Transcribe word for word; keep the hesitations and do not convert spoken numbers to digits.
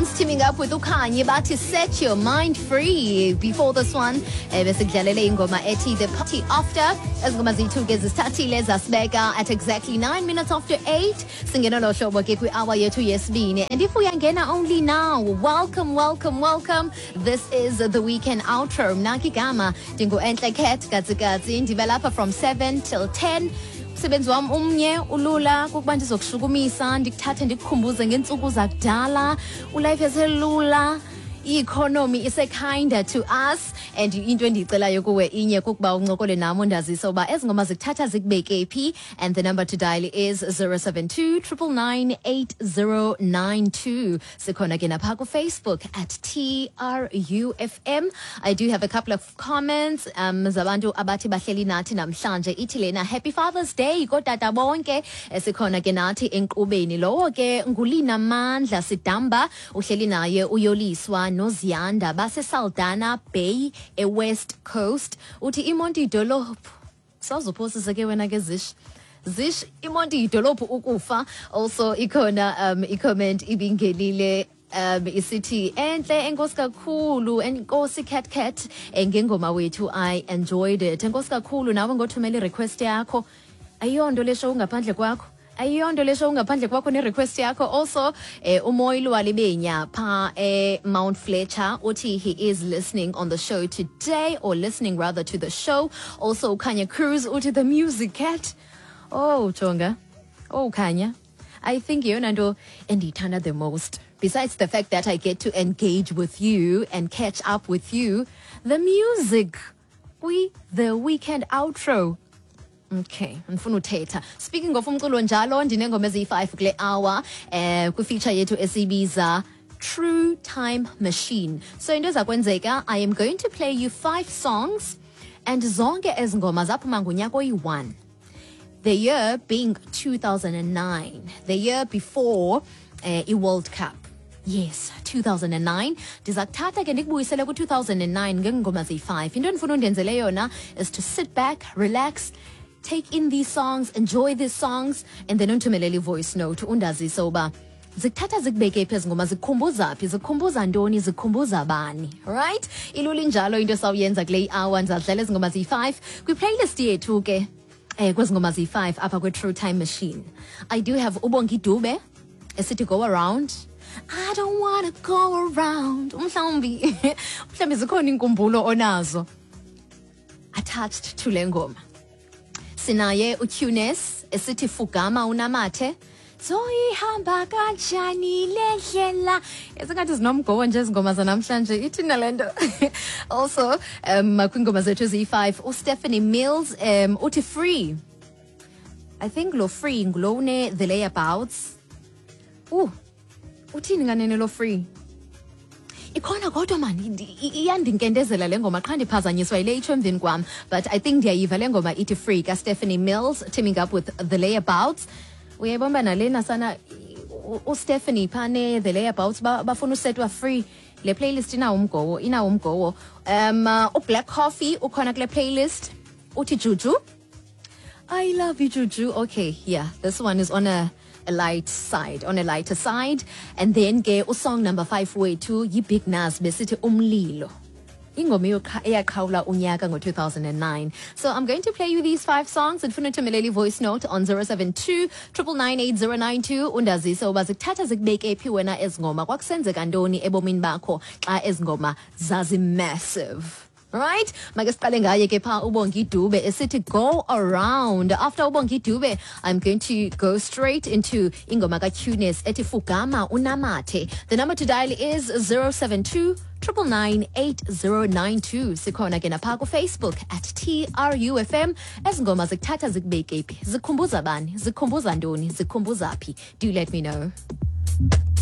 James teaming up with uKhanye bathi "Set Your Mind Free". Before this one, eh, besikudlalele ingoma ethi "The Party After". Ezingoma zethu ke zisithathile zasibeka at exactly nine minutes after eight. Singena lo hlobo ke kwi-hour yethu yesibini. And if uyangena only now, welcome, welcome, welcome. This is the Weekend Outro. Mna ke igama ndingu-Entle Cat Katsikatsi. Ndibe lapha from seven till ten. Umsebenzi wam umnye, ulula, kukuba ndizokushukumisa, ndikuthathe, ndikukhumbuze ngeentsuku zakudala, ulife eselula, i-economy ise-kinder to us. And into endiyicelayo kuwe inye, kukuba uncokole nam, undazise uba ezi ngoma zikuthatha zikubeke phi. And the number to dial is zero seven two nine nine nine eight zero nine two. Sikhona ke napha kuFacebook at T R U F M. I do have a couple of comments um zabantu abathi bahleli nathi namhlanje. Ithi lena, "Happy Father's Day kootata bonke. Eh, sikhona ke nathi enkqubeni." Lowo ke ngulina Mandla Sidamba, uhleli naye uYoliswa noZiyanda, baseSaldanha Bay eWest Coast. Uthi iMonti idolophu. Sawuzophosisa ke wena ke, Zish. Zish, iMonti yidolophu ukufa. Also ikhona um i-comment ibingenile um isithi, "Enhle, enkosi kakhulu, enkosi Cat Cat eh, ngengoma wethu, I enjoyed it." Enkosi kakhulu nawe ngothumela i-request yakho. Ayiyonto le show ngaphandle kwakho, ayiyonto le show ngaphandle kwakho ne-request yakho. Also eh, uMoyilo Walibenya pha eh, Mount Fletcher uthi he is listening on the show today, or listening rather to the show. Also Kanya Cruz uthi, "The music, Cat." Oh jonga, oh Kanya, I think yeyona nto endiyithanda the most, besides the fact that I get to engage with you and catch up with you, the music kwi The Weekend Outro. Okay, ndifuna uthetha. Speaking of umculo njalo, ndinengoma eziyi-five kule hour eh kwi-feature yethu esiyibiza True Time Machine. So into eza kwenzeka, I am going to play you five songs, and zonke ezi ngoma zaphuma ngonyaka oyi-one. The year being two thousand nine, the year before uh, i-World Cup. Yes, two thousand nine. Ndiza kuthatha ke ndikubuyisele ku-two thousand nine ngeengoma ziyi-five. Into endifuna undenzele yona is to sit back, relax, take in these songs, enjoy these songs, and then undithumelele i-voice note undazise uba zikuthatha zikubeke phi ezi ngoma, zikukhumbuza phi, zikukhumbuza ntoni, zikukhumbuza bani. Right, ilula injalo into esawuyenza kule hour. Ndizadlala ezi ngoma ziyi-five kwiplaylist yethu ke. Eh kwezi ngoma ziyi-five apha kwi-True Time Machine, I do have uBongi Dube esithi "Go Around". I don't wanna go around. Mhlawumbi mhlawumbi zikhona iinkumbulo onazo attached to le ngoma. Sinaye uTunes esithi "Fugama Unamathe". Zoyihamba kanjani le ndlela? Esingathi zinomgowo nje ezingoma zanamhlanje, ithina le nto. Also um kwiingoma zethu eziyi-five, uStephanie Mills um uthi "Free". I think lo "Free" ngulo une The Layabouts. Uh uthini nganene lo "Free"? Ikhona kodwa mani, iyandinkentezela le ngoma, qha ndiphazanyiswa yile itsho emveni kwam, but I think ndiyayiva le ngoma ithi "Free" kaStephanie Mills teaming up with The Layabouts. Uyayibona nalena sana, uStephanie phane The Layabouts bafuna usetwa free. Le playlist inawo umgowo, inawo umgowo. um uh, uBlack Coffee ukhona kule playlist, uthi "Juju". I love you, Juju. Okay, yeah, this one is on a, a light side, on a lighter side. And then ke usong number five wethu yi-Big Nuz besithi "Umlilo". Ingoma eyaqhawula unyaka ngo-two thousand nine. So I'm going to play you these five songs. Ndifuna uthumelela i-voice note on zero seven two nine nine nine eight zero nine two, undazise uba zikuthatha zikubeke phi wena ezi ngoma, kwakusenzeka ntoni ebomini bakho xa ezi ngoma zazi-massive. Right, make siqale ngaye ke pha uBongi Dube esithi "Go Around". After uBongi Dube, I'm going to go straight into ingoma kaTunes ethi "Fugama Unamathe". The number to dial is zero seven two nine nine nine eight zero nine two. Sikhona ke napha kuFacebook at T R U F M. Ezi ngoma zikuthatha zikubeke phi, zikhumbuza bani, zikhumbuza ntoni, zikhumbuza phi? Do let me know.